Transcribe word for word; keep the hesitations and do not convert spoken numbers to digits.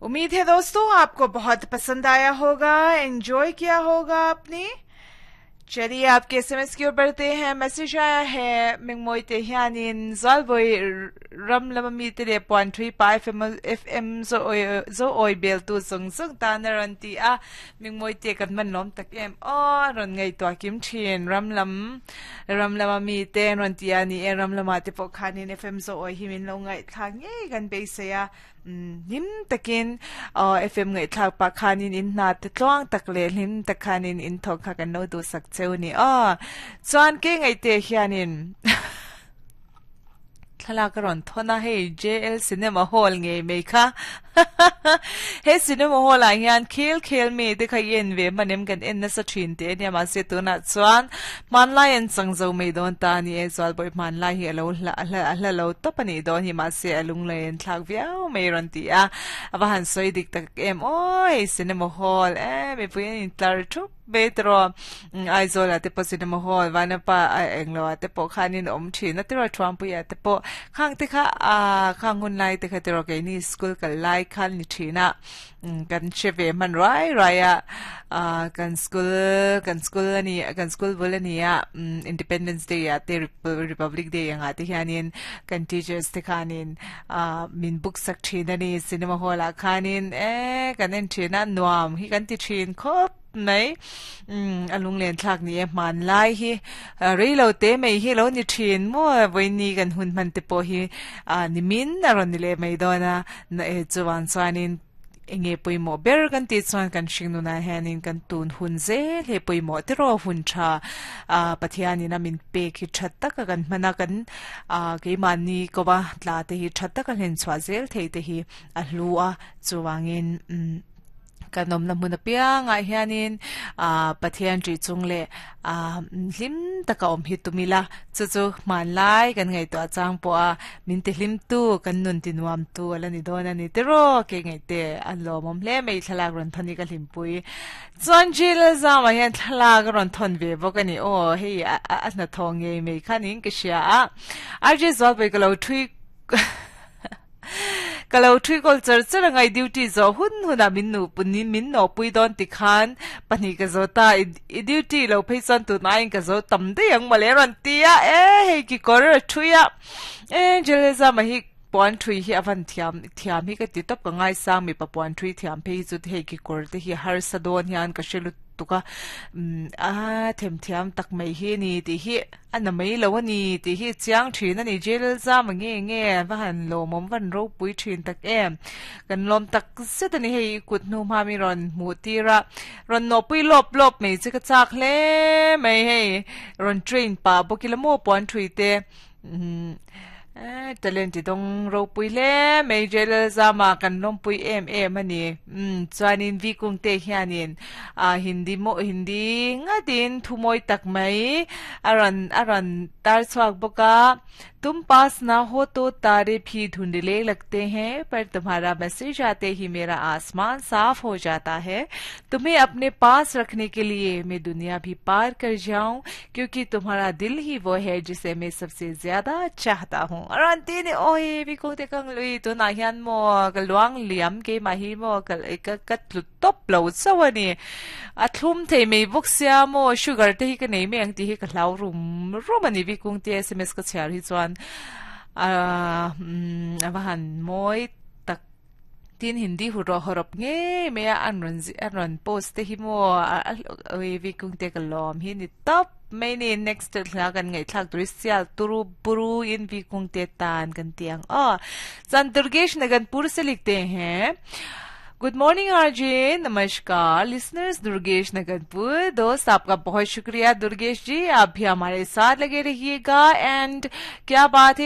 उम्मीद है दोस्तों आपको बहुत पसंद आया होगा एंजॉय किया होगा आपने चलिए आपके एसएमएस की ओर बढ़ते हैं मैसेज आया है mingmoi te hianin zalboi ram lama mi te le puan thui pa FM FM zo oi zo oi bel tu zung zung ta na ran ti a mingmoi te kan man lom tak em o ron ngai to kim thin ram lam ram lama mi te ron ti a ni e ram lama te po khanin FM zo oi hi min lo ngai thla nge kan be se ya nim takin FM ngai thlak pa khanin in na te tluang tak le hlim tak khanin in thok kha kan lo du sak cheu ni a chuan ke ngai te hianin thlalak a rawn thawn a hei JL Cinema Hall ngei mai kha he cinema hall ah hian khel khel mi te kha en ve hmanem kan en nasa thin te ania mahse tunah chuan hmanlai an chang zo mai dawn ta ani e chuan pawh hmanlai hi alo hla hla hla lo tawp ani dawn hi mahse a lung lei an thlak viau mai rawn ti a a va han sawi dik tak em aw hei cinema hall e mipui an intlar thup mai tawh Aizawl ah te pawh cinema hall vanapa englo ah te pawh khanin awm thin a tiraw thuampui ah te pawh khang te kha ah khang hun lai te kha tiraw keini school kal lai khan ni thin a kan hre ve hman ruai ruai a ah kan school kan school ani kan school bul ani a Independence Day ah te Republic Day anga te hianin kan teachers te khanin ah min book sak thin ani cinema hall ah khanin e kan en thin a nuam hi kan ti thin khawp mai um a lung len thlak ni e hman lai hi reilo te mai hi lo ni thin mo voini kan hun man te pawh hi a nimin a rawn ni le mai dawn a na e chuan chuanin enge pawimawh ber kan tih chuan kan hringnun ah hianin kan tun hun zel he pawimawh te rawh hun tha a pathianin a min pek hi tha taka kan hmana kan a keimahni kowa tla te hi tha taka hlen chhuah zel thei te hi a hlu a chuwangin um kan awm na hmun apiangah hianin a pathian ṭih chung leh a hlim taka awm hi tumila chu chu hmanlai kan ngaihtuah chang pawh a min ti hlim tu kan nun ti nuam tu ala ni dawn ani tiraw ke ngaih te an lawm awm hle mai thlalak rawn thawn hi ka hlimpui chuan jil zamah hian thlalak a rawn thawn ve bawk ani aw hei a a hnathawh ngei mai khanin ka hria a RJ Zualpui ka lo thui ka lo thui kawl char char angai duty zo hun huna min nu punin min no pui dawn ti khan pahnih ka zo ta i duty lo phei chuan tu na in ka zo tam dei ang male rawn tia e hei ki kawr a thui a e jeleza ma hi puan thui hi avan thiam thiam hi ka ti tawp ka ngai sang mi pa puan thui thiam phei chu hei ki kawr te hi har sa dawn hian ka hre lut tuka um a them thiam tak mai hi ni ti hi ana mai lo ani ti hi chiang thin ani jail zam nge nge va han lomom van ro pui thin tak em kan lom tak zet ani hei kut hnu ma mi ron mu tira ron no pui lop lop mai chi ka chak hle mai hei ron train pa bokila mo puan thui te um talent ti dong ro pui le mai jail zama kan lom pui em em ani um chuanin vi kung te hianin a hindi mo hindi ngatin thumoi tak mai aran aran tar chuak boka तुम पास ना हो तो तारे भी धुंधले लगते हैं पर तुम्हारा मैसेज आते ही मेरा आसमान साफ हो जाता है तुम्हें अपने पास रखने के लिए मैं दुनिया भी पार कर जाऊं क्योंकि तुम्हारा दिल ही वो है जिसे मैं सबसे ज्यादा चाहता हूँ aran ti ni oi vi ko te kang lui tu na hian mo ka luang liam ke ma hi mo ka ka ka tlu top lo chawani a thlum thei mei bok sia mo sugar te hi ka nei me ang ti hi ka hlau rum rum ani vi kung te sms ka chhiar hi chuan a a han moi tak tin hindi hu ro horop nge me an ron an ron post te hi mo oi vi kung te ka lom hi ni top mai ni next thla kan ngai thlak turi sial turu buru in vi kung te tan kan tiang a chan Durgesh Naganpur से लिखते हैं good morning RJ नमस्कार लिसनर्स दुर्गेश नगनपुर दोस्त आपका बहुत शुक्रिया दुर्गेश जी आप भी हमारे साथ लगे रहिएगा एंड क्या बात है